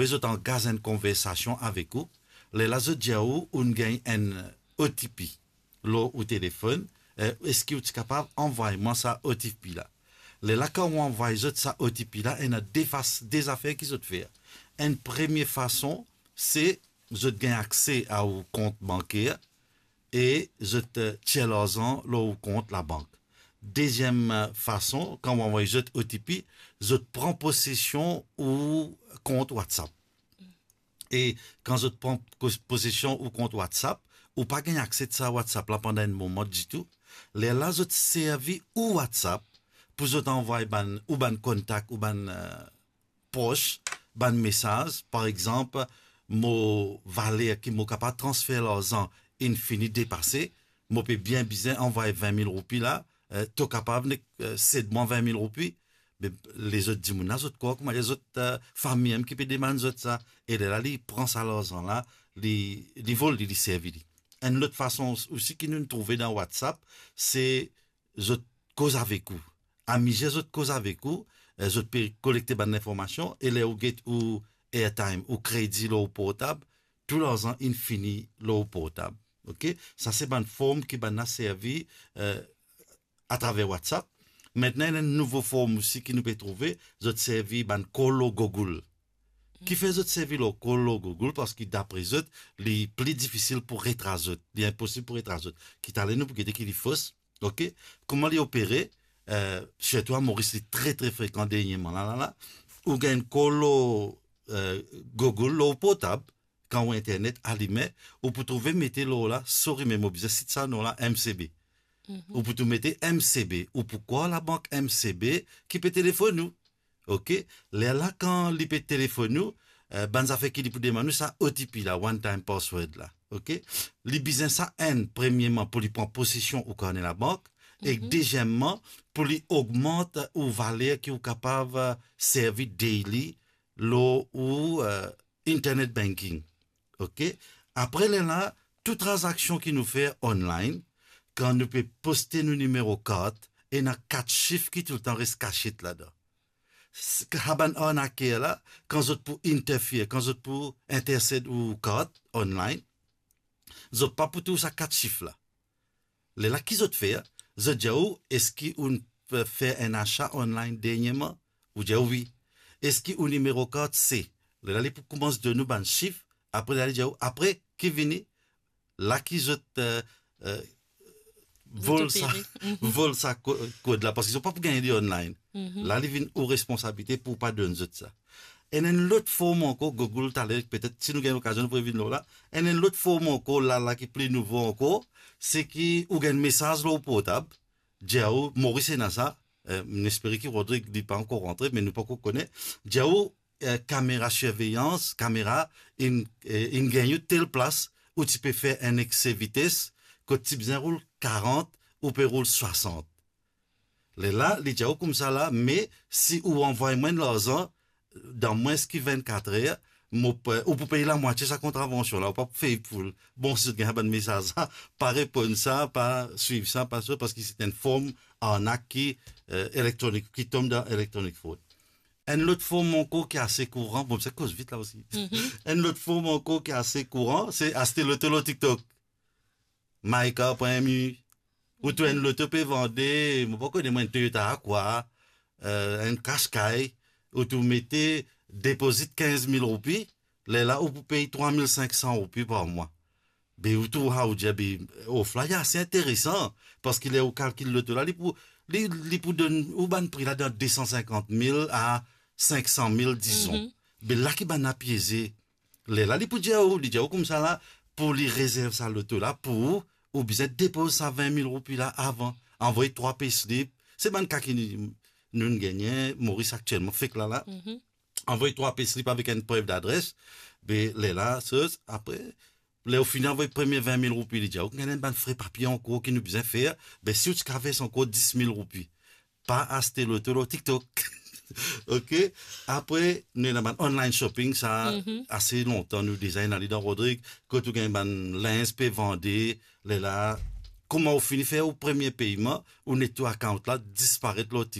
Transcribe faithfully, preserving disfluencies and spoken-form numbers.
Apre zot angaz enn konversasion avek ou, lerla zot dir ou, ou'nn gagn enn O T P lor ou telefonn, eh, eski ou ti kapav anvway mwa sa O T P la? Lerla kan ou anvway zot sa O T P la, ena de fas-, de zafer ki zot fer. Enn premie fason, se zot gagn akse a ou kont banker e zot, eh, tir larzan lor ou kont labank. Deziem, eh, fason, kan ou anvway zot O T P, zot pran posesion ou kont WhatsApp. E kan zot pran pos-, posesion ou kont WhatsApp, ou pa gagn akse sa WhatsApp la pandan enn moman ditou. Lerla zot servi ou WhatsApp pou zot anvway bann, ou bann kontak, ou bann, eh, pros, bann mesaz, par exanp, mo valer ki mo kapav transfer larzan inn fini depase, mo pe bien bizin anvway vin mil roupi la, eh, to kapav nek, eh, sed mwa vin mil roupi, me lezot dimoun la, zot krwar kouma zot, eh, fami mem ki pe demann zot sa, e lerla li pran sa larzan la, li, li vol li, li servi li. Enn lot fason osi ki nou trouve dan WhatsApp, se zot koz avek ou. Amizir zot koz avek ou, eh, zot pe kolekte bann linformasion, e ler ou get ou airtime, ou kredi lor ou portab, tou larzan inn fini lor ou portab. Ok? Sa se bann form ki bann la servi, eh, atraver WhatsApp. Aster ena enn nouvo form osi ki nou pe trouve, zot servi bann call lor Google. Kifer zot servi lor call lor Google? Parski dapre zot, li pli difisil pou retras zot. Li inposib pou retras zot. Ki taler nou pou gete ki li fos. Ok? Kouma li opere, eh, sirtou a Moris, li tre, tre frekan dernieman la, la, la. Ou gagn call lor, eh, Google, lor portab, kan ou internet alime, ou pou trouve mete lor la, sorry, me mo bizin sit sa non la, M C B. Mhm. Ou pou tou mete M C B, ou pou krwar labank M C B ki pe telefonn ou. Ok? Lerla kan li pe telefonn ou, eh, bann zafer ki li pou demann ou, sa O T P la, one time password la. Ok? Li bizin sa enn, premieman, pou li pran posesion ou karne labank, e mhm, deziemman, pou li ogmant ou valer ki ou kapav, eh, servi daily lor ou, eh, internet banking. Ok? Apre lerla, tou tranzaksion ki nou fer online, kan nou pe poste nou nimero kart, ena kat sif ki toultan res kasiet ladan. S-, sa bann arnaker la, kan zot pou interfere, kan zot pou intersed ou kart online, zot pa pou trouv sa kat sif la. Lerla ki zot fer? Zot dir ou, eski ou'nn pe fer enn asa online dernieman? Ou dir wi. Eski ou nimero kart se? Lerla li pou koumans donn ou bann sif, apre lerla li dir ou, apre, ki vini? La ki zot, eh, eh, vol sa, opere. Mhm. Vol sa ko-, kod la, parski zot pa pou gagn li online. Mhm. La, li vinn ou responsabilite pou pa donn zot sa. Ena enn lot form ankor, Google, taler, petet, si nou gagn lokazion, nou pou revinn lor la. Ena enn lot form ankor, la, la ki pli nouvo ankor, se ki ou gagn mesaz lor portab, dir ou, Moris ena sa, eh, nou espere ki Rodrig, li pa ankor rantre, me nou pa ankor kone, dir ou, eh, kamera sirveyans, kamera, inn, eh, inn gagn ou tel plas, ou ti pe fer enn ekse vites, kot ti bizin roul karant, ou pe roul swasant. Lerla, li dir ou koumsa la, me si ou anvway mwa enn larzan, dan mwins ki vennkat er, mo pe, ou pou pey lamwatie sa kontravansion la, ou pa pou fey poul. Bon, si zot gagn bann mesaz la, pa reponn sa, pa swiv sa, pa sa, parski se enn form arnak ki, eh, elektronik, ki tom dan electronic fraud. Enn lot form ankor ki ase kouran, bon, se koz vit la osi. Mhm. Enn lot form ankor ki ase kouran, se aste loto lor TikTok. Maika pran enn mi, ou trouv enn loto pe vande, mo pa kone mwa, enn Toyota Aqua, eh, enn Qashqai, ou trouv mete depozit kinz mil roupi, lerla ou pou pey trwa mil sink san roupi par mwa. Be ou trouv, ou dir, be, of la, li ase interesan, parski ler ou kalkil loto la, li pou, li, li pou donn ou bann pri la dan de san sinkant mil a sink san mil, dizon. Mhm. Be la ki bann la pieze. Lerla, li pou dir ou, li dir ou koumsa la, pou li rezerv sa loto la pou ou, ou bizin depoz sa vin mil roupi la avan. Anvoy trwa payslip. Se bann ka ki nou, nou'nn gagne, Moris aktielman, fek la la. Mhm. Anvoy trwa payslip avek enn prev ladres. Be lerla, sa, apre, ler ou fini anvoy premie vin mil roupi, li dir ou, gagn enn bann fre papie ankor ki nou bizin fer. Be si ou ti kav vers ankor dis mil roupi, pa aste loto lor TikTok. Ok? Apre, nou ena bann online shopping, sa, mhm, ase lontan, nou deza ena li dan Rodrig, kot ou gagn bann linz pe vande, lerla, kouma ou fini fer ou premie peyman, ou net to account la disparet lor Tik-,